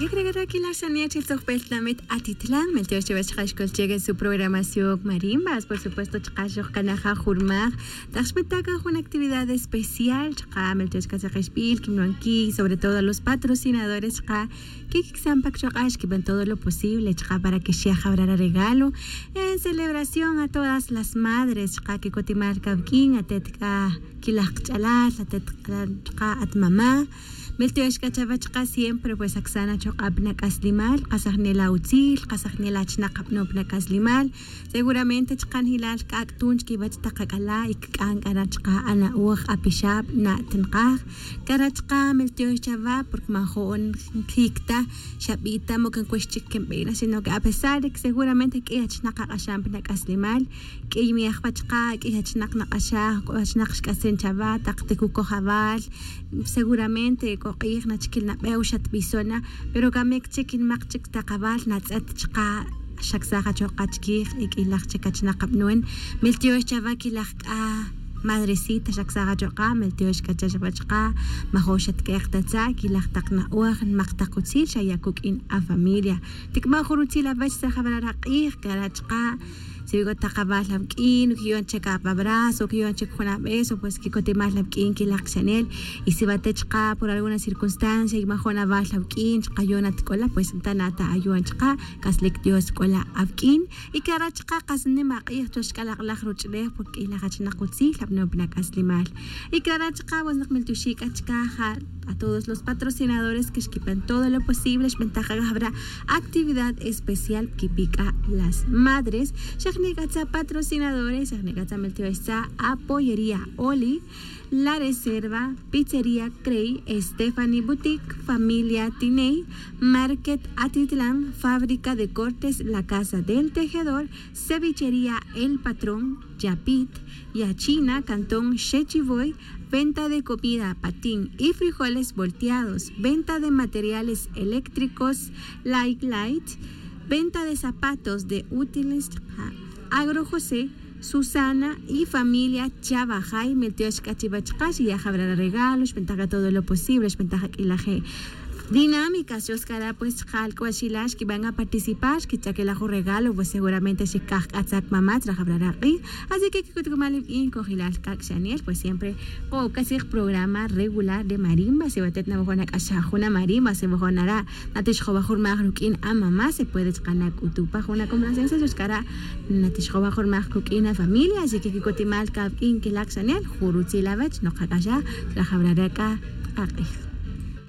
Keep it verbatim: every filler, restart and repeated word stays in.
Yekrekara' kilaxaniyat chiltzojpel tlamit atitlan meltiox chiwach chaka' xkol cheke su programación marimbas por supuesto chaka' xojkanaja' jurmaj tak xpetakan jun actividad especial chaka' meltiox kachakixb'il kinwanki sobre todo los patrocinadores chaka' kikiksan pa kichok'ax kiban todo lo posible chaka' para que xejabrar aregalo en celebración a todas las madres chaka' kikotimal kawk'in atet k'a kilaj qach'alal atet k'a at mamá. Meltiox k'a chawach chaka' siempre pues aksan achoq'ab' nak'aslimal qasajnel awutzil qasajnel achnaq ab'nob' nak'aslimal. Seguramente chaka' njilal k'ak' tun chikiwach taq ak'ala' y kik'an k'a ra' chaka' ana'oj apixab' na'tnqaj. K'a ra' chaka' meltiox chawa porque majo'n njik ta xab'i' ta moka nkux chik kinb'ina sino que apesar de que seguramente k'ey achnaq aq'axan pi nak'aslimal. K'ey mi ajwa' chaka' k'ey achnaq naq'axaj k'o achnaq xk'asen chawa taq tikukojawal. Seguramente k'o q'ij nachikil nab'ew xatb'ison na pero kamik chik nimaq chik taqawal natz'et chaka' xaksaj achoq'a' chikij y k'ilaj chik achnaq ab'non. Meltiox chawa kilaj k'a madrecita xaksaj achoq'a' meltiox k'a chawach chaka' majox xatk'eq ta tza' kilaj taq na'oj nimaq taq utzil xaya' kuk'in afamilia. Tik'ma' jun rutzil awach tzajawral aq'ij kara' chaka' si wi k'o taq awal awk'in kiyon chek apabrazo kiyon chek jun ab'eso pues kikotimal awk'in kilaj kixanel. Y si wa te chaka' por alguna circunstancia y majo'n awal awk'in chaka' yon atk'ola pues nta' na ta ayon chaka' k'aslik dios k'ola awk'in. Y kara' chaka' qas nim aq'ij chuwach k'alaq'laj ruch'ulej porque k'ilaj achnaq utzil ab'nob' nak'aslimal. Y kara' chaka' pues naq meltioxi' k'a chaka' ja a todos los patrocinadores que xkipan todo lo posible xb'antaj k'a jab'ra' actividad especial kipi k'a las madres. Xajni' k'a tza patrocinadores xajni' k'a tza meltiox tza apoyería oli, la reserva, pizzería crey, estefani boutique, familia tiney, market atitlan, fábrica de cortes, la casa del tejedor, cevichería el patrón, yapit, yachina cantón xechivoy, venta de comida patín y frijoles volteados, venta de materiales eléctricos, light light, venta de zapatos de útiles agro josé, susana y familia chavajay meltiox k'a chiwach chaka' xiyajab'ral aregalo xb'antaj k'a todo lo posible xb'antaj ak'ilaje'. Dinámicas yos kara' pues chaka' alk'ual xilal xkiban aparticipar xkichakilaj jun regalo pues seguramente xikaj k'a tzak mamá tzrajab'ral aq'ij. Así que kikutkumal iwk'in kojilal k'ak' xanel pues siempre k'o k'a sij programa regular de marimba si watet nawajon ak'axaj jun amarimba si wajon ara' natixjowa jun rmaj ruk'in amamá se puede chaka' nak'utu' pa jun acomplacencia xux kara' natixjowa jun rmaj kuk'in afamilia así que kikotimal kawk'in kilak xanel jun rutzil awech nokak'axaj tzrajab'ral ak'a. Aq'ij.